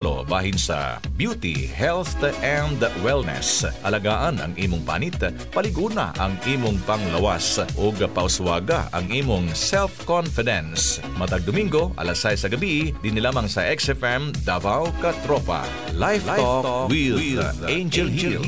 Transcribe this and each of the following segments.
Bahin sa beauty, health and wellness. Alagaan ang imong panit, paliguna ang imong panglawas ug pauswaga ang imong self-confidence. Matag Domingo, alas 6 sa gabi, dinhi lamang sa XFM Davao Katropa. Life Talk with Angel Hill.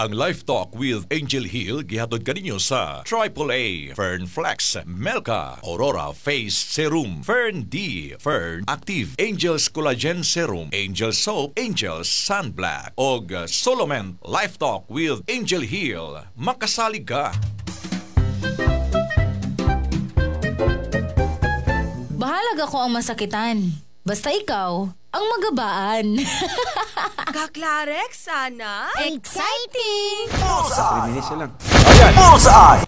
Ang Life Talk with Angel Hill gihatod kaninyo sa Triple A, Fern Flex, Melka, Aurora Face Serum, Fern D, Fern Active, Angels Collagen Serum, Angel Soap, Angels Sunblack, og Solomon. Life Talk with Angel Hill. Makasalig ka! Bahalag ako ang masakitan. Basta ikaw, ang magabaan. Kaklarex, sana? Exciting! 3 minutes na lang. Ayan. Bullseye!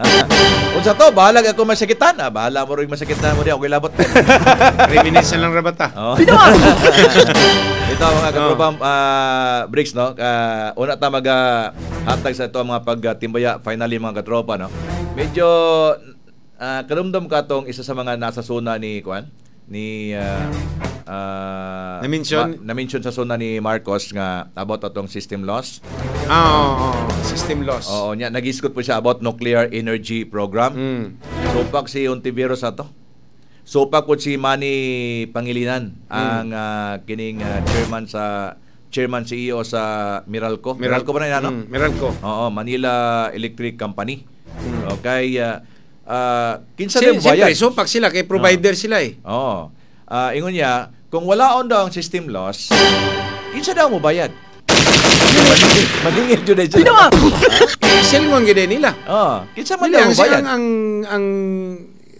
Unsa to, bahalag ako masakitan. Ah, bahala mo rin masakitan mo di ako ilabot. 3 minutes na lang rabata. Oh. Ito mga katropa, breaks no. Una ta maga hatag sa ito ang mga pagtimbaya finally mga katropa no. Medyo kadumdum ka tong isa sa mga nasa zona ni Kwan ni Na-mention? Na-mention sa zona ni Marcos nga about atong system loss. Ah, oo, system loss. Oo, niya nagisgot po siya about nuclear energy program. Supak si Ontiveros ato. Supak po si Manny Pangilinan ang kining chairman sa chairman CEO sa Meralco. Meralco ba na yan, ano? Meralco. Oo, Manila Electric Company. Okay, kinsa Si, din siyempre, bayad? supak sila kay provider sila eh. Oo. Ingon niya, kung wala on daw ang system loss, kinsa daw mo bayad? Maningil jud sila. Silngon gid nila. Oo, kinsa man Dili, daw ang, mo bayad? ang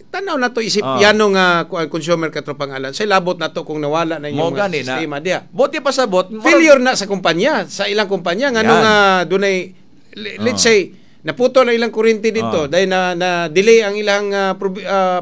tanaw na to isip Ah. yano nga kuan consumer katropang alan. Say labot na to kung nawala na Mo yung gani na. sistema diya. Buti pa sa bot. Failure na sa kumpanya, sa ilang kumpanya ngano Yan. nga dunay let's say naputo na ilang kuryente dito dahil na delay ang ilang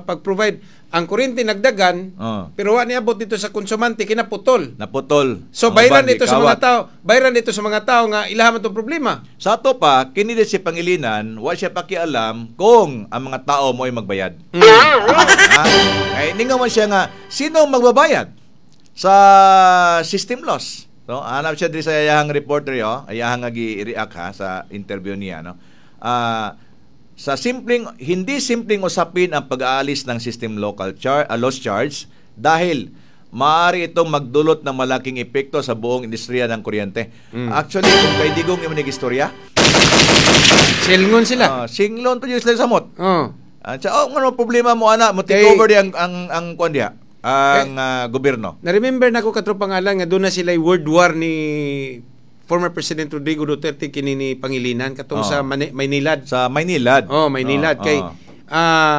pag-provide. Ang kuryente nagdagan pero wa niabot dito sa konsumante kinaputol. Naputol. So Ang bayran uban, dito sa mga gikawat. tao, bayran dito sa mga tao nga ilaha man tong problema. Sa ato pa, kini din si Pangilinan, wa siya pakialam kung ang mga tao mo ay magbayad. Ha? Ay, ningaw man siya nga, sino ang magbabayad sa system loss? So, hanap siya diri sa iyahang reporter yo, iyahang nga gi-react ha sa interview niya no. Sa simpleng hindi simpleng usapin ang pag-aalis ng system local loss charge dahil maaari itong magdulot ng malaking epekto sa buong industriya ng kuryente. Actually, kung kay Digong imo istorya, Silngon sila. Singlon pa jud sila samot. Oh. Sa oh, ngano problema mo ana, mo take Kay- over di ang kuan diha, ang gobyerno. Na-remember na ko katropang alang nga doon na sila word war ni former President Rodrigo Duterte kini ni Pangilinan katong sa Maynilad. Sa Maynilad. Oh, Maynilad kay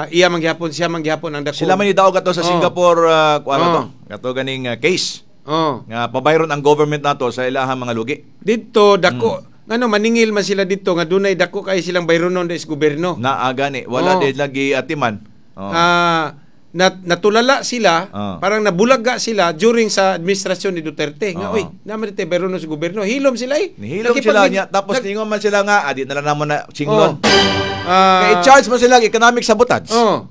iya man gihapon siya man gihapon ang dako. Sila man ni daog ato sa Singapore kuan Oh. ato. Kato ganing case. Oh. Nga pabayron ang government nato sa ilahang mga lugi. Didto dako ngano maningil man sila didto nga dunay dako kay silang bayronon sa gobyerno. Naa gani wala din lagi atiman. Oh. Natulala sila, parang nabulaga sila during sa administrasyon ni Duterte. Nga, uy, naman dito bayronon sa gobyerno. Hilom sila eh. Nihilom sila niya tapos ningon man sila nga adi na lang namon na singlon. Kay i-charge man sila economic sabotage. Oh.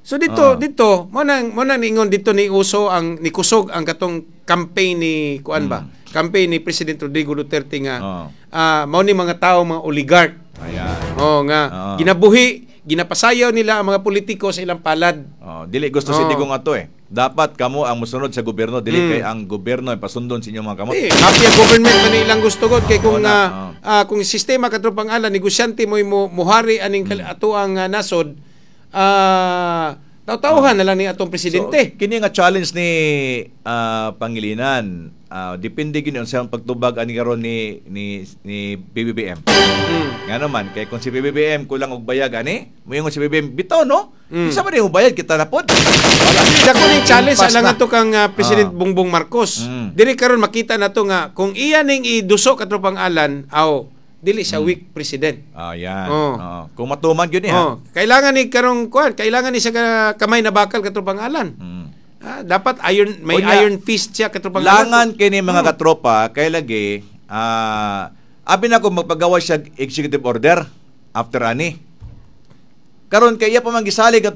So dito dito mo nang niingon dito ni uso ang ni kusog ang katong campaign ni kuan ba? Campaign ni President Rodrigo Duterte nga mao ni mga tao mga oligarch. Ayan. Oh nga ginabuhi, ginapasayaw nila ang mga politiko sa ilang palad. Oh, dili gusto si Digong ato eh. Dapat kamo ang mosunod sa gobyerno, dili kay ang gobyerno ay pasundon sa inyong mga kamot. Eh, mafia government man ilang gusto god kay kung kung sistema katropang ala negosyante mo muhari aning ato ang nasod tawtawhan na lang ni atong presidente. So, kini nga challenge ni Pangilinan, depende gid sa pagtubag ani karon ni PBBM. Nga naman kay kung si PBBM kulang og bayag ani, moingon si PBBM bitaw no. Isa man yung bayad kita na pod. Wala. Dako ning challenge Impas alang na. ato kang President Bongbong Marcos. Diri karon makita nato nga kung iya ning iduso katropang alan aw dili siya weak president. Ayan. Oh. Oo. Kung matuman gyud ni ha. Oh, kailangan ni karong kuan, kailangan ni siya kamay na bakal katropang alan. Dapat iron may Unya, iron fist siya katropang alan. Langan kini mga katropa kay lagi abi na kung magpagawa siya executive order after ani. Karon kay iya pa man gisalig.